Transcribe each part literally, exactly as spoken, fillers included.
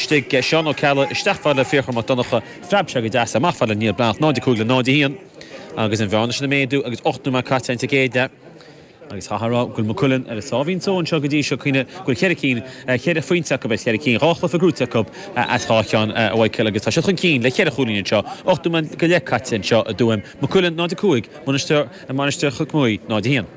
D'aistrigh Seán Ó Ceallaigh isteach fad le Fiachra Mac Donncha phreab sé go deas amach fad le Niall Breathnach náid a cúig le náid a haon agus an bhearna sin ag méadú agus ocht nóiméad caite sa gcéad leath. Agus chaithfeá a rá go bhfuil Maigh Cuilinn ar a sáimhín só anseo go dtí seo cuimhnigh go bhfuil ceithre cinn ceithre phointe acu as ceithre cinn dhá chluiche gnóthaithe acu as dhá cheann a Mhichael agus tá siad chun cinn le ceithre chúilín anseo ocht nóiméad go leith caite anseo i dTuaim Maigh Cuilinn náid a cúig Mainistir Mainistir Chnoc Muaidhe náid a haon.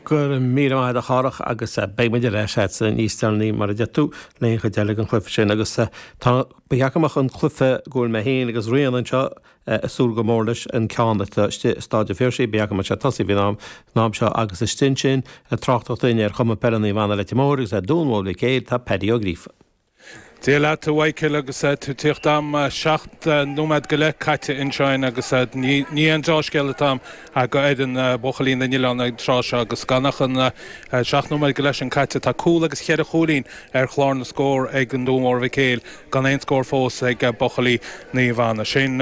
Go raibh míle maith agat a Chárthach agus beidh muid ar ais agatsa níos deireanaí mar a deir tú le haon chuid eile den chluiche sin agus tá ba cheart go mbeadh an cluiche go bhfuil mé féin agus Ríona anseo ag súil go mór leis an ceann atá istigh i Staid an Phiarsaigh ba cheart go mbeadh sé tosaithe faoin am an am seo agus istigh ansin ag tráchtaireacht dúinn ar Chumann Peile Naomh Anna Leitir Móir agus ar Dún Mór Mhic Éil tá Paddy Ó Gríofa. Dia leat a Mhichael agus tú tíocht am seacht nóiméad go leith caite ansin agus ní an dea-scéal atá go fhoireann buachaillí na nOileán ag tráth seo agus gan ach an seacht nóiméad go leith sin caite tá cúl agus cheithre chúilín ar chlár na scór ag an Dún Mór Mhic Éil gan aon scór fós ag buachaillí Naomh Anna. Sin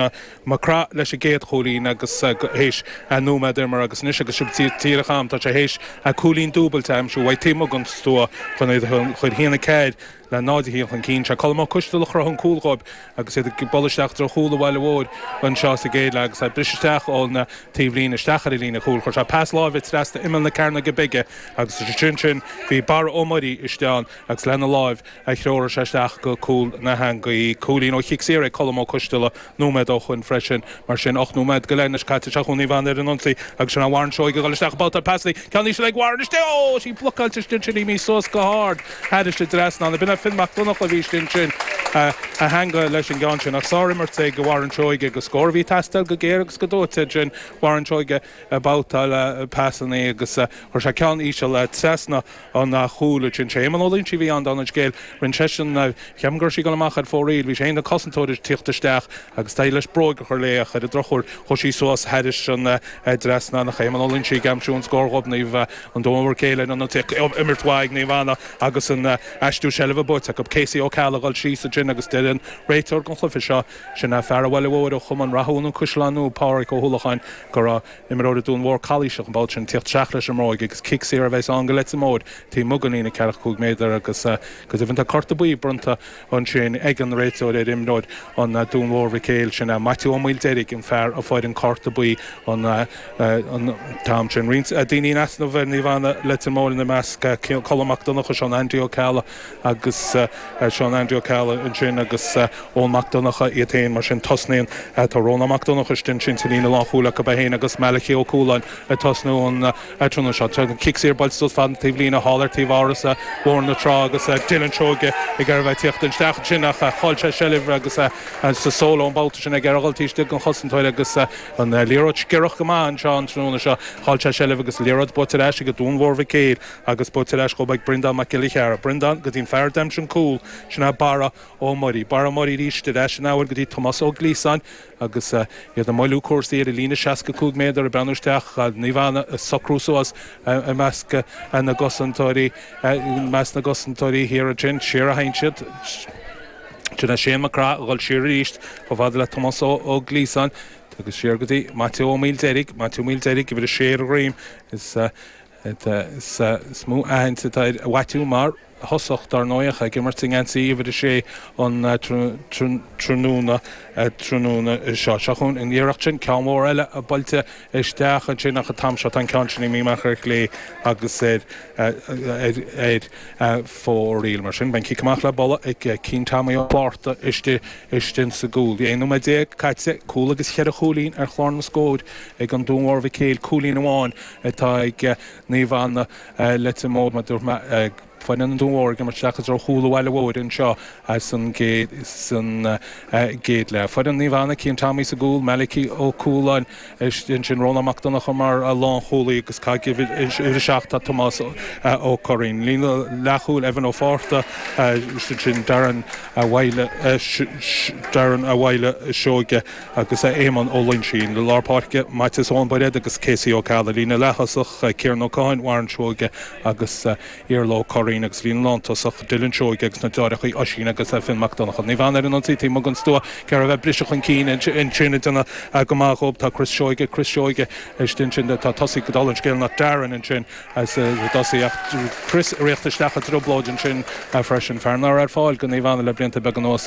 Mac Craith leis an gcéad chúilín agus théis nóiméad imeartha agus anois agus sibh díreach am tá sé théis cúilín dúbailte aimsiú uaidh taobh amuigh den stua chun iad a chur haon a ceathair le náid a haon chun cinn sé Colm Ó Coisteal a chruthaigh an cúl dhóibh agus iad ag bualadh isteach treo chúl an Bhaile Mhóir anseo sa gcéad leath agus briseadh isteach ón taobhlíne isteach ar an líne chúil chuir sé pas láimhe trasna imeall na cearnóige bige agus sin sin bhí Barra Ó Muirí isteach agus lena láimh a threoraigh sé isteach go cúl na heangaí cúilín ó chic saor ag Colm Ó Coisteala nóiméad ó shin freisin mar sin ocht nóiméad go leith caite seo Naomh Anna ar an ionsaí agus sin Warren Seoige ag dul isteach babhtáil pasanna ceann íseal ag Warren istigh ó sí blocáilte sin sin í suas go hard thairis an trasnán b'in Finn Mac Donncha a bhí sin sin a theanga leis an gceann sin ach sárimirt ag Warren Seoige agus scór bhí teastáil go géar agus go dóite sin Warren Seoige babhtáil pasanna agus chuir sé ceann íseal trasna an chúl sin sé Éamonn Ó Loinsigh bhí an an scéal rinne seisean ceapaim gur sí go amach ar fóraoil bhí sé na cosantóir tíocht isteach agus tá leis bróg a chur léach ar an drochuair chuaigh sí suas thairis an trasnán ach Éamonn Ó Loinsigh ag aimsiú an scór dhóibh Naomh an Dún Mór Céile an imirt mhaith Naomh Anna agus an aistriú seilbhe buaite acu Casey Ó Ceallaigh dul síos ansin agus deir an réiteoir den chluiche seo sin a fear bhile mhór ó Chumann Rathún an Cuisleán nó Pádraig Ó Húlacháin go raibh imreoir Dún Mór calaoiseach an babhta sin tíocht isteach leis an mbróig agus cic saor a bheas ann go Leitir Móir taobh amuigh den líne ceathracha cúig méadar agus go deimhin tá cárta buí bronnta ansin ag an réiteoir ar imreoir an Dún Mór Mhic Éil sin Maitiú Ó Maoildeirg an fear a fuair an cárta buí an an t-am sin. Roinnt daoine in easnamh ar Naomh Anna Leitir Móir ina measc Colm Mac Donncha Seán Andy Ó Ceallaigh agus Seán Andy Ó Ceallaigh ansin agus Eoin Mac Donncha iad féin mar sin tosnaíonn tá Rónán Mac Donncha sin sin sa líne lánchúil acu é féin agus Malachi Ó Cualáin ag tosnú an tráthnóna seo. Cic saor buailte suas fad an taobhlíne thall ar taobh áras Bhóthar na Trá agus Dylan Seoige ag ar bheith tíocht isteach sin ach chaill sé seilbh agus sa solo an babhta sin ag ar dhul taobh istigh den chosantóir agus an liathróid sciorrach go maith anseo an tráthnóna seo chaill sé seilbh agus liathróid buaite ar ais ag Dún Mhór Mhic Éil agus buaite ar ais go ag Breandán Mac Giolla Chearra. Breandán go dtí an fear d'aimsigh an cúl sin é Barra Ó Muirí. Barra Ó Muirí arís ar ais an abhair go dtí Tomás Ó Glíosáin agus iad ag moilliú cúrsaí ar a líne seasca cúig méadar ag breathnú isteach Naomh Anna ag socrú suas i measc na gcosantóirí measc na gcosantóirí thiar ansin siar a théann siad. Sin é Shane McGrath a dhul siar arís chomh fada le Tomás Ó Glíosáin agus siar go dtí Maitiú Ó Maoildeirg, Maitiú Maoildeirg uimhir a sé ar a dhroim is is mó aithne atá ar Mhaitiú mar thosach dar ndóigh ag imirt i ngeansaí uimhir a sé an tráthnóna tráthnóna seo. Seo chugainn an iarracht sin ceann mór eile a buailte isteach ansin ach an t-am seo tá an ceann sin imithe amach ar chlé agus ar ar fóraoil mar sin. Beidh cic amach le bualadh ag Cian Tommy Ó Flátharta istigh istigh sa gcúl. Aon nóiméad déag caite cúl agus cheithre chúilín ar chlár na scóir ag an Dún Mhór Mhic Éil cúilín amháin atá ag Naomh Anna Leitir Móir mar dúirt mé foireann an Dún Mhór ag imirt isteach i dtreo chúl an Bhaile Mhóir anseo san gcéad san gcéad leath. Foireann Naomh Anna Cian Tommy sa gcúl, Malachi Ó Cualáin ansin Rónán Mac Donncha mar lánchúlaí agus ag uimhir a seacht tá Tomás Ó Curraoin. Líne leathchúil Evan Ó Fátharta sin Darren Bhaile Darren Bhaile Seoige agus Éamonn Ó Loinsigh. Lár páirce Maitias Eoin Bairéad agus Casey Ó Ceallaigh. Líne leath-thosach Ciarán Ó Cadhain, Warren Seoige agus Iarla Ó Curraoin agus líne lántosach Dylan Seoige agus na deartháireacha Oisín agus Finn Mac Donncha. Naomh Anna ar an ionsaí taobh amuigh den stua ar a bheith briseadh chun cinn ansin ag déanamh go maith dhóibh tá Chris Seoige Chris Seoige ansin tá tosaí go dul an scéal nach Darren ansin as tosaí ach Chris ag rith isteach i dtrioblóid ansin freisin. Fear nach raibh ar fáil go Naomh Anna le blianta beaga anuas.